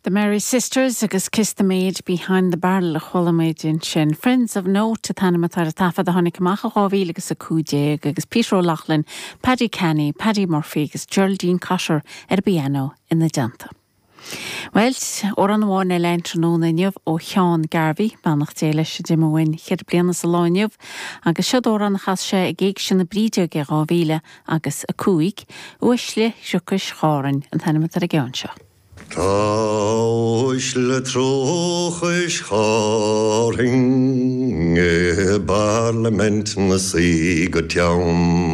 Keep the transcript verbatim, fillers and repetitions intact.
The Merry Sisters agus Kiss the Maid Behind the Barrel a chuala muid ansin. Friends of Note an t-ainm atá ar an taifead a tháinig amach in dhá mhíle agus a cúig déag agus Peter O'Loughlin, Paddy Canny, Paddy Murphy agus Geraldine Cotter ar piano ina dteannta. Well, amhrán amháin eile an tráthnóna inniu ó Sheán Garvey, beannacht Dé leis a d'imigh uainn ceithre bliana sa lá inniu, agus seo amhrán a chas sé ag Éigse na Brídeoige dhá mhíle agus a cúig, Uaisle Thriocais Chárainn an t-ainm atá ar an gceann seo. Tá uaisle Thriocais Chárainn i bParlaimint 'na suí go teann.